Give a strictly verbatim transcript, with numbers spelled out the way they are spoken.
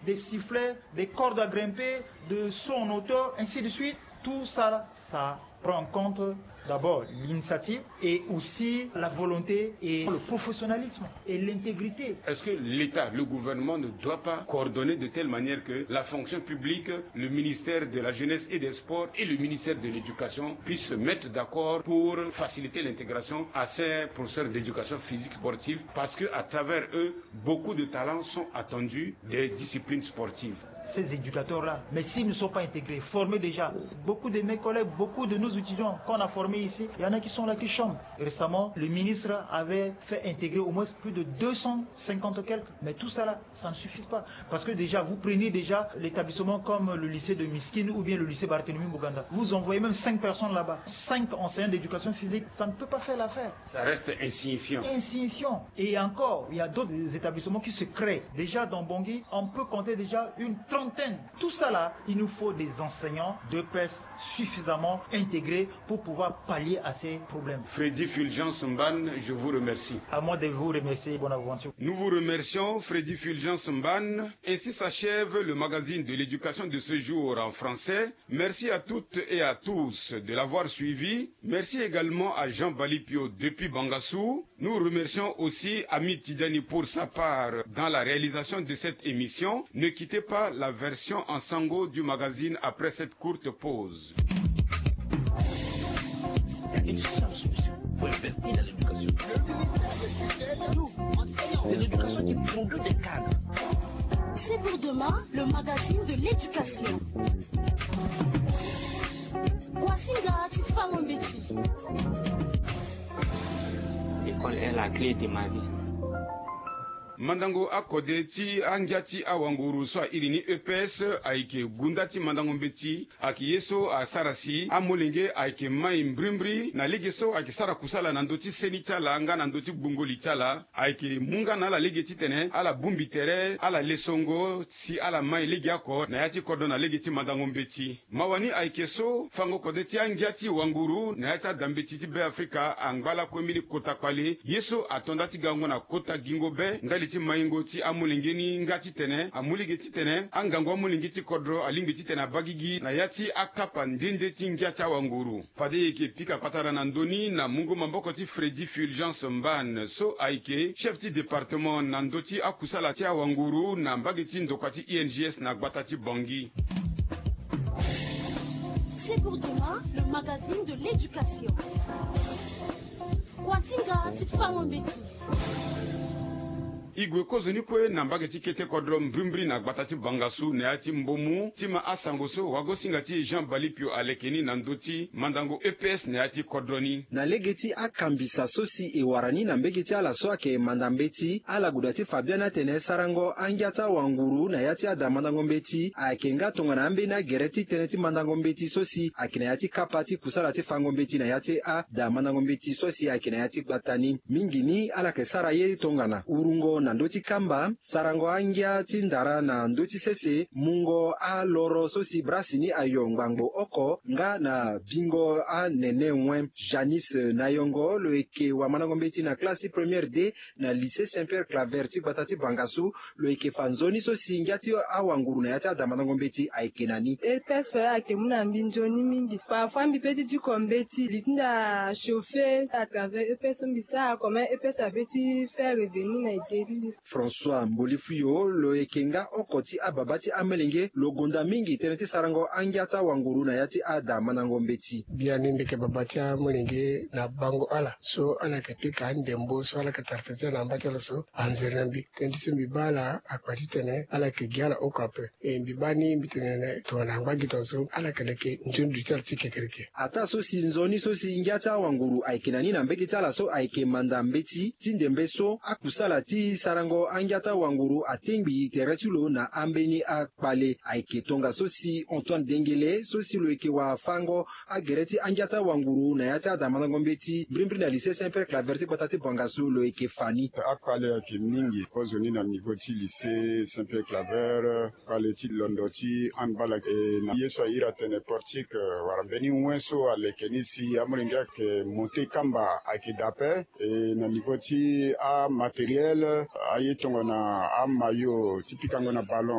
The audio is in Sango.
des sifflets, des cordes à grimper, de son auto, ainsi de suite. Tout ça, ça prend en compte d'abord l'initiative et aussi la volonté et le professionnalisme et l'intégrité. Est-ce que l'État, le gouvernement ne doit pas coordonner de telle manière que la fonction publique, le ministère de la jeunesse et des sports et le ministère de l'éducation puissent se mettre d'accord pour faciliter l'intégration à ces professeurs d'éducation physique sportive, parce que à travers eux, beaucoup de talents sont attendus des disciplines sportives. Ces éducateurs-là, mais s'ils ne sont pas intégrés, formés déjà, beaucoup de mes collègues, beaucoup de nos étudiants qu'on a formés ici, il y en a qui sont là, qui chôment. Récemment, le ministre avait fait intégrer au moins plus de deux cent cinquante quelques. Mais tout ça là, ça ne suffit pas. Parce que déjà, vous prenez déjà l'établissement comme le lycée de Miskine ou bien le lycée Barthélemy Boganda. Vous envoyez même cinq personnes là-bas, cinq enseignants d'éducation physique, ça ne peut pas faire l'affaire. Ça reste insignifiant. Insignifiant. Et encore, il y a d'autres établissements qui se créent. Déjà dans Bangui, on peut compter déjà une trentaine. Tout ça là, il nous faut des enseignants d'E P S suffisamment intégrés pour pouvoir pallier à ces problèmes. Freddy Fulgence Mbane, je vous remercie. À moi de vous remercier, bonne aventure. Nous vous remercions, Freddy Fulgence Mbane. Ainsi s'achève le magazine de l'éducation de ce jour en français. Merci à toutes et à tous de l'avoir suivi. Merci également à Jean Balipio depuis Bangassou. Nous remercions aussi Ami Tidjani pour sa part dans la réalisation de cette émission. Ne quittez pas la version en sango du magazine après cette courte pause. Il y a une chance, monsieur. Faut investir dans l'éducation. Nous, enseignants, c'est l'éducation qui produit des cadres. C'est pour demain, le magazine de l'éducation. Kwasinga ti fango mbeti. L'école est la clé de ma vie. Mandango akode ti angia ti awanguru so a iri ni E P S ayeke gunda ti mandango mbeti. Ayeke ye so asara si amolenge ayeke mai mbrimbri na lege so ayeke sara kusala na ndö ti seni ti ala nga na ndö ti gbungo li ti ala. Ayeke mu nga na ala lege titene ala bongbi tere ala lesongo si ala mai legeoko na ya ti kodro na lege ti mandango mbeti. Mawa ni ayeke so fango kode ti angia ti wanguru na ya ti adambeti ti Beafrika angba lakue mbeni kota kpale ye so ato nda ti gango na kota gingo be ndali ti maingo ti amolenge ni nga titene amu lege titene angangu amolenge ti kodro alingbi titene abaa gigi na ya ti akapa nde nde ti ngia ti awanguru. Fade e yeke pika patara na ndö ni na mungo maboko ti Freddy Fulgence Mbane so ayeke chef ti département na ndö ti akusala ti awanguru na mbage ti ndokua ti I N G S na gbata ti Bangui. C'est pour demain, le magazine de l'éducation. Kwasinga ti fango mbeti. E gue kozoni kue na mbage ti kete kodro mbrimbri na gbata ti Bangassou na ya ti mbomu ti ma asango so wagosinga ti Jean Balipio aleke ni na ndö ti mandango E P S na ya ti kodro ni. Na lege ti akambisa so si e wara ni na mbage ti ala so ayeke manda mbeti, ala guda ti fa biani atene sarango angia ti awanguru na ya ti ada mandango mbeti ayeke nga tongana ambeni agere ti tënë ti mandango mbeti so si ayeke na ya ti kapa ti kusala ti fango mbeti na ya ti ada mandango mbeti so si ayeke na ya ti gbata ni. Mingi ni ala yeke sara ye tongana wurungo na ndö ti kamba, sarango angia ti ndara na ndö ti sese, mungo aloro so si brasi ni ayo ngbangbo oko nga na bingo anene wen. Janice Nayongo lo yeke wamandango mbeti na classe ti première D na lycée Saint Pierre Claver ti gbata ti Bangassou, lo yeke fa nzoni so si ngia ti awanguru na ya ti ada mandango mbeti ayeke na ni. E P S fa ayeke mu na mbi nzoni mingi. Parfois mbi peut ti diko mbeti, li ti nda chauffer à travers E P S so mbi sara, comment E P S apeut ti faire revenir na ide ti mbi. François Mbolifuyo lo yeke nga oko ti ababa ti amolenge lo gonda mingi tënë ti sarango angia ti awanguru na ya ti ada mandango mbeti. Biani mbi yeke baba ti amolenge na bango ala so ala yeke pika andembo so ala yeke tara tene ti ala na mba ti ala so anzere na mbi. Tënë ti so mbi baa ala akpa titene ala yeke gi ala oko ape. E mbi baa ni mbi tene tongana angba gi tongaso ala yeke leke nzoni duti ala ti kekereke. Ataa so si nzoni so si ngia ti awanguru ayeke na ni na mbage ti ala so ayeke manda mbeti ti ndembe so akusala ti sarango angia ti awanguru atengbi tere ti lo na ambeni akpale. Ayeke tongaso si Antoine Dengele so si lo yeke wafango agere ti angia ti awanguru na ya ti ada mandango mbeti mbrimbri na lycée Saint Pierre Claver ti gbata ti Bangassou lo yeke fa ni. Akpale ayeke mingi kozoni na niveau ti lycée Saint Pierre Claver. Kpale ti londo ti handball ayeke na ye so a iri atene portique wala mbeni wen so aleke ni si amolenge ayeke monté kamba ayeke daa ape. E na niveau ti amatériel, aye tongana amaillot ti pikango na ballon.